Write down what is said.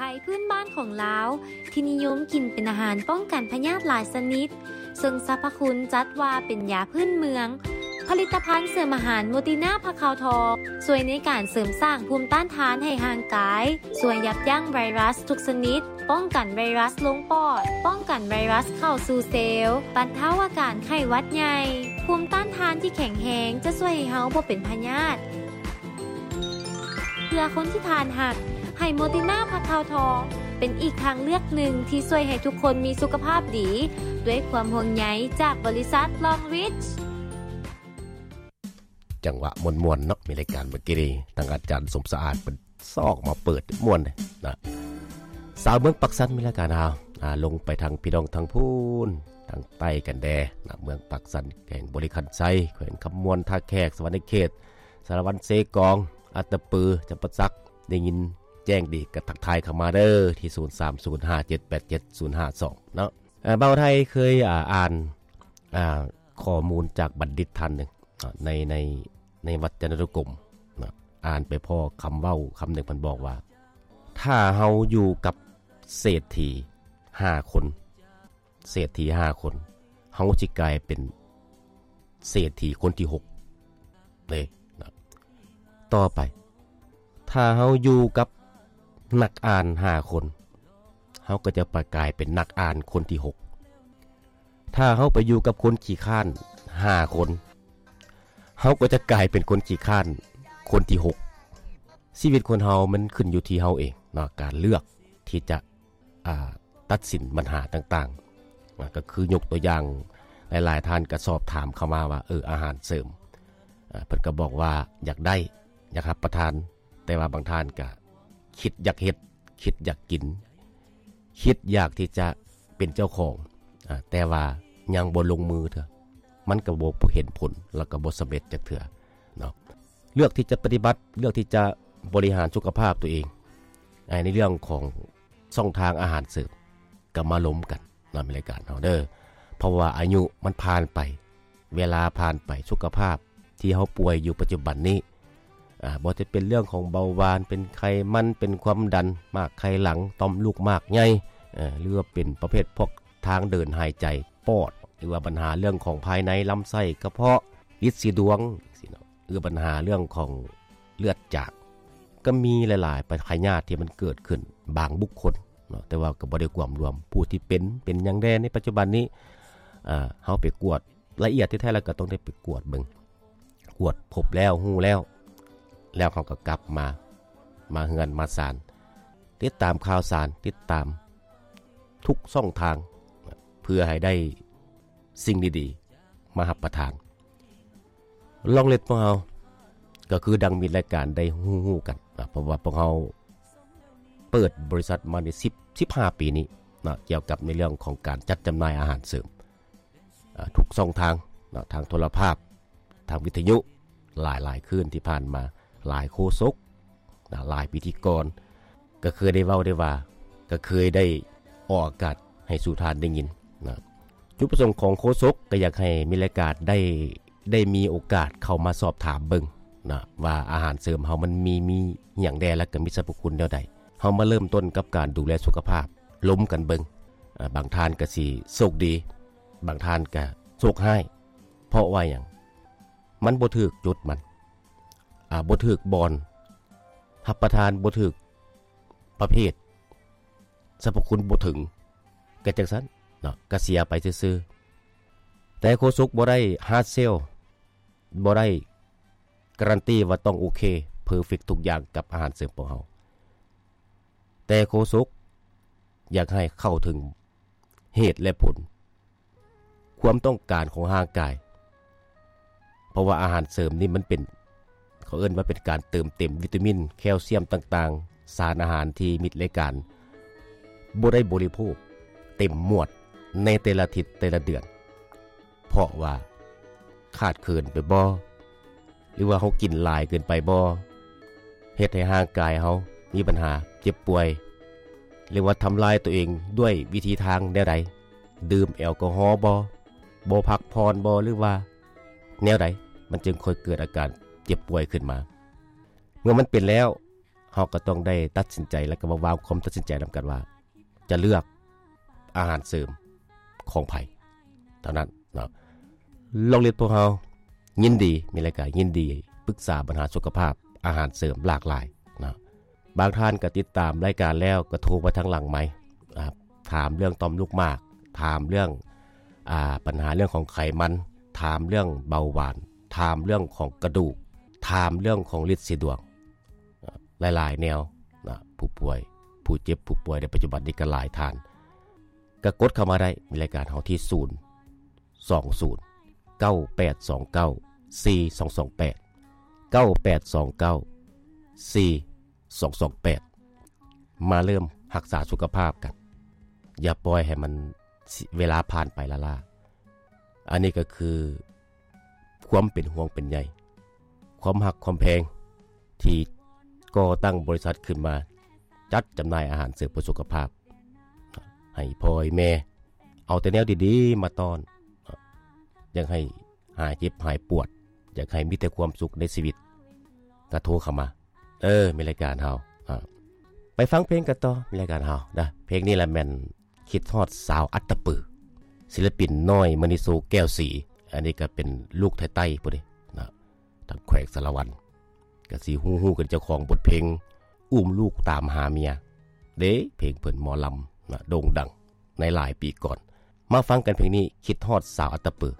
ໄທພື້ນບ້ານຂອງລາວ ທີ່ນິຍົມກິນເປັນອາຫານປ້ອງກັນພະຍາດຫຼາຍຊະນິດ, ເຊິ່ງສັບພະຄຸນຈັດວ່າເປັນຢາພື້ນເມືອງ. ຜະລິດຕະພັນເສີມອາຫານໂມຕິນາຜັກເຂົ້າທອງ ຊ່ວຍໃນການເສີມສ້າງພູມຕ້ານທານໃຫ້ຮ່າງກາຍ, ຊ່ວຍຢັບຢັ້ງໄວຣັສທຸກຊະນິດ, ປ້ອງກັນໄວຣັສລົງປອດ, ປ້ອງກັນໄວຣັສເຂົ້າສູ່ເຊວ, ບັນເທົາອາການໄຂ້ຫວັດໃຫຍ່. ພູມຕ້ານທານທີ່ແຂງແຮງຈະຊ່ວຍໃຫ້ເຮົາບໍ່ເປັນພະຍາດ. ເພື່ອຄົນທີ່ທ່ານຮັກ, ໃຫ້ໂມຕິນາຜັກເຂົ້າທອງ ເປັນອີກທາງເລືອກໜຶ່ງທີ່ຊ່ວຍໃຫ້ທຸກຄົນມີສຸຂະພາບດີ, ດ້ວຍຄວາມຫ່ວງໃຍຈາກບໍລິສັດ Long Reach. ຈັງຫວະມ່ວນໆເນາະ ມີລາຍການເມື່ອກີ້ນີ້ ທາງອາຈານສົມສະອາດເພິ່ນຊອກມາເປີດມ່ວນເດ້ນະ. ຊາວເມືອງປາກຊັນ ມີລາຍການເຮົາ ອາ ລົງໄປທາງພີ່ນ້ອງທາງພຸ້ນ ທາງໃຕ້ກັນແດ່ນະ ເມືອງປາກຊັນ ແຂວງບໍລິຄຳໄຊ ແຂວງຄຳມ່ວນ ທ່າແຂກ ສະຫວັນນະເຂດ ສາລະວັນ ເຊກອງ ອັດຕະປື ຈຳປາສັກ ໄດ້ຍິນແຈ້ງດີກໍທັກທາຍເຂົ້າມາເດີ ທີ່ສູນສາມສູນຫ້າເຈັດແປດເຈັດສູນຫ້າສອງເນາະ. ເອີ ບ່າວໄທເຄີຍ ອ່າ ອ່ານ ອ່າ ຂໍ້ມູນຈາກບັນດິດທ່ານໜຶ່ງ ໃນ ໃນ ໃນວັດຈະນະນຸກົມນະ ອ່ານໄປພໍ້ຄຳເວົ້າຄຳໜຶ່ງ ເພິ່ນບອກວ່າ ຖ້າເຮົາຢູ່ກັບເສດຖີຫ້າຄົນ ເສດຖີຫ້າຄົນ ເຮົາຊິກາຍເປັນເສດຖີຄົນທີຫົກເດ້ນະ. ຕໍ່ໄປ ຖ້າເຮົາຢູ່ກັບນັກອ່ານຫ້າຄົນ ເຮົາກໍຈະໄປກາຍເປັນນັກອ່ານຄົນທີຫົກ. ຖ້າເຮົາໄປຢູ່ກັບຄົນຂີ້ຄ້ານຫ້າຄົນ ເຮົາກໍຈະກາຍເປັນຄົນຂີ້ຄ້ານຄົນທີຫົກ. ຊີວິດຄົນເຮົາມັນຂຶ້ນຢູ່ທີ່ເຮົາເອງເນາະ ການເລືອກທີ່ຈະ ອ່າ ຕັດສິນບັນຫາຕ່າງໆ ກໍຄືຍົກຕົວຢ່າງ ຫຼາຍໆທ່ານກໍສອບຖາມເຂົ້າມາວ່າ ເອີ ອາຫານເສີມ ເພິ່ນກໍບອກວ່າຢາກໄດ້ ຢາກຮັບປະທານ ແຕ່ວ່າບາງທ່ານກະຄິດຢາກເຮັດ ຄິດຢາກກິນ ຄິດຢາກທີ່ຈະເປັນເຈົ້າຂອງ ອາ ແຕ່ວ່າຍັງບໍ່ລົງມືເທື່ອ ມັນກະບໍ່ເຫັນຜົນ ແລ້ວກະບໍ່ສຳເລັດຈັກເທື່ອເນາະ. ເລືອກທີ່ຈະປະຕິບັດ ເລືອກທີ່ຈະບໍລິຫານສຸຂະພາບຕົວເອງ ໃນເລື່ອງຂອງຊ່ອງທາງອາຫານເສີມ ກະມາລົມກັນ ນຳລາຍການເຮົາເດີ ເພາະວ່າອາຍຸມັນຜ່ານໄປ ເວລາຜ່ານໄປ ສຸຂະພາບທີ່ເຮົາປ່ວຍຢູ່ປັດຈຸບັນນີ້ ອາ ບໍ່ວ່າຈະເປັນເລື່ອງຂອງເບົາຫວານ ເປັນໄຂມັນ ເປັນຄວາມດັນ ໝາກໄຂ່ຫຼັງ ຕ່ອມລູກໝາກໃຫຍ່ ເອີ ຫຼືວ່າເປັນປະເພດພວກທາງເດີນຫາຍໃຈ ປອດ ຫຼືວ່າບັນຫາເລື່ອງຂອງພາຍໃນ ລຳໄສ້ ກະເພາະ ລິດສີດວງ ຈັ່ງຊີ້ເນາະ ຫຼືບັນຫາເລື່ອງຂອງເລືອດຈາງ ກໍມີຫຼາຍໆພະຍາດທີ່ມັນເກີດຂຶ້ນບາງບຸກຄົນເນາະ ແຕ່ວ່າກໍບໍ່ໄດ້ກວມລວມຜູ້ທີ່ເປັນ ເປັນຫຍັງແດ່ໃນປັດຈຸບັນນີ້ ເຮົາໄປກວດລະອຽດ ທີ່ແທ້ແລ້ວກໍຕ້ອງໄດ້ໄປກວດເບິ່ງ ກວດພົບແລ້ວຮູ້ແລ້ວ ແລ້ວເຮົາກໍກັບມາ ມາເຮືອນມາຊານ ຕິດຕາມຂ່າວສານ ຕິດຕາມທຸກຊ່ອງທາງ ເພື່ອໃຫ້ໄດ້ສິ່ງດີໆມາຮັບປະທານ. ລອງເລັດພວກເຮົາກໍຄືດັ່ງມິດລາຍການໄດ້ຮູ້ໆກັນນະ ເພາະວ່າພວກເຮົາເປີດບໍລິສັດມາໄດ້ສິບ ສິບຫ້າປີນີ້ນະ ກ່ຽວກັບໃນເລື່ອງຂອງການຈັດຈຳໜ່າຍອາຫານເສີມ ອາ ທຸກຊ່ອງທາງນະ ທາງໂທລະພາບ ທາງວິທະຍຸ ຫຼາຍໆຄືນທີ່ຜ່ານມາ ຫຼາຍໂຄສົກນະ ຫຼາຍພິທີກອນ ກໍເຄີຍໄດ້ເວົ້າໄດ້ວ່າ ກໍເຄີຍໄດ້ອອກອາກາດໃຫ້ສູ່ທ່ານໄດ້ຍິນນະ. ຈຸດປະສົງຂອງໂຄສົກກໍຢາກໃຫ້ມິດລາຍການໄດ້ ໄດ້ມີໂອກາດເຂົ້າມາສອບຖາມເບິ່ງນະ ວ່າອາຫານເສີມເຮົາມັນມີ ມີຫຍັງແດ່ ແລ້ວກໍມີສັບພະຄຸນແນວໃດ. ເຮົາມາເລີ່ມຕົ້ນກັບການດູແລສຸຂະພາບ ລົມກັນເບິ່ງ ອາ ບາງທ່ານກໍຊິໂຊກດີ ບາງທ່ານກໍໂຊກຮ້າຍ. ເພາະວ່າຫຍັງ? ມັນບໍ່ຖືກຈຸດມັນ ອາ ບໍ່ຖືກບ່ອນ ຮັບປະທານບໍ່ຖືກປະເພດ ສັບພະຄຸນບໍ່ເຖິງ ກໍຈັ່ງຊັ້ນເນາະ ກໍເສຍໄປຊື່ໆ. ແຕ່ໂຄສົກບໍ່ໄດ້ຮາດເຊວ ບໍ່ໄດ້ກາຣັນຕີວ່າຕ້ອງໂອເຄ ເພີເຟັກທຸກຢ່າງກັບອາຫານເສີມຂອງເຮົາ ແຕ່ໂຄສົກຢາກໃຫ້ເຂົ້າເຖິງ ເຫດ ແລະ ຜົນ ຄວາມຕ້ອງການຂອງຮ່າງກາຍ ເພາະວ່າອາຫານເສີມນີ້ມັນເປັນ ເຂົາເອີ້ນວ່າເປັນການເຕີມເຕັມວິຕາມິນ ແຄວຊຽມຕ່າງໆ ສານອາຫານທີ່ມິດລາຍການບໍ່ໄດ້ບໍລິໂພກເຕັມມວດໃນແຕ່ລະທິດແຕ່ລະເດືອນ ເພາະວ່າຂາດເຂີນໄປບໍ່ ຫຼືວ່າເຮົາກິນຫຼາຍເກີນໄປບໍ່ ເຮັດໃຫ້ຮ່າງກາຍເຮົາມີບັນຫາເຈັບປ່ວຍ ຫຼືວ່າທຳລາຍຕົວເອງດ້ວຍວິທີທາງແນວໃດ? ດື່ມແອລກໍຮໍບໍ່? ບໍ່ພັກຜ່ອນບໍ່? ຫຼືວ່າແນວໃດ? ມັນຈຶ່ງຄ່ອຍເກີດອາການເຈັບປ່ວຍຂຶ້ນມາ. ເມື່ອມັນເປັນແລ້ວ ເຮົາກໍຕ້ອງໄດ້ຕັດສິນໃຈ ແລ້ວກໍມາວາງຄວາມຕັດສິນໃຈນຳກັນວ່າ ຈະເລືອກອາຫານເສີມຂອງໃຜເທົ່ານັ້ນເນາະ. ໂລງຮຽນພວກເຮົາຍິນດີ ມີລາຍການຍິນດີປຶກສາບັນຫາສຸຂະພາບອາຫານເສີມຫຼາກຫຼາຍເນາະ. ບາງທ່ານກໍຕິດຕາມລາຍການແລ້ວກໍໂທມາທາງຫຼັງໄມ ອ່າ ຖາມເລື່ອງຕ່ອມລູກໝາກ ຖາມເລື່ອງ ອ່າ ບັນຫາເລື່ອງຂອງໄຂມັນ ຖາມເລື່ອງເບົາຫວານ ຖາມເລື່ອງຂອງກະດູກ ຖາມເລື່ອງຂອງລິດສີດວງ ຫຼາຍໆແນວນະ ຜູ້ປ່ວຍ ຜູ້ເຈັບ ຜູ້ປ່ວຍໃນປັດຈຸບັນນີ້ກໍຫຼາຍທ່ານ ກໍກົດເຂົ້າມາໄດ້ ມີລາຍການເຮົາທີ່ ສູນ ສອງ ສູນ ເກົ້າ ແປດ ສອງ ເກົ້າ ສີ່ ສອງ ສອງ ແປດ ເກົ້າ ແປດ ສອງ ເກົ້າ ສີ່ ສອງ ສອງ ແປດ ມາເລີ່ມຮັກສາສຸຂະພາບກັນ ຢ່າປ່ອຍໃຫ້ມັນ ເວລາຜ່ານໄປລ້າໆ. ອັນນີ້ກໍຄືຄວາມເປັນຫ່ວງເປັນໃຍ ຄວາມຮັກຄວາມແພງ ທີ່ກໍ່ຕັ້ງບໍລິສັດຂຶ້ນມາ ຈັດຈຳໜ່າຍອາຫານເສີມເພື່ອສຸຂະພາບ ໃຫ້ພໍ່ໃຫ້ແມ່ ເອົາແຕ່ແນວດີໆມາຕ້ອນ ຢາກໃຫ້ຫາຍເຈັບຫາຍປວດ ຢາກໃຫ້ມີແຕ່ຄວາມສຸກໃນຊີວິດ ກໍໂທເຂົ້າມາ ເອີ ມີລາຍການເຮົາ ອ່າ ໄປຟັງເພງກັນຕໍ່ ມີລາຍການເຮົານະ. ເພງນີ້ລະແມ່ນຄິດຮອດສາວອັດຕະປື ສິລະປິນນ້ອຍ ມະນີໂຊ ແກ້ວສີ ອັນນີ້ກໍເປັນລູກໄທໃຕ້ພຸ້ນເດ້ນະ ທາງແຂວງສາລະວັນ ກໍຊິຮູ້ໆກັນ ເຈົ້າຂອງບົດເພງ ອຸ້ມລູກຕາມຫາເມຍເດ້ ເພງເພິ່ນໝໍລຳນະ ໂດ່ງດັງໃນຫຼາຍປີກ່ອນ. ມາຟັງກັນເພງນີ້ ຄິດຮອດສາວອັດຕະປື.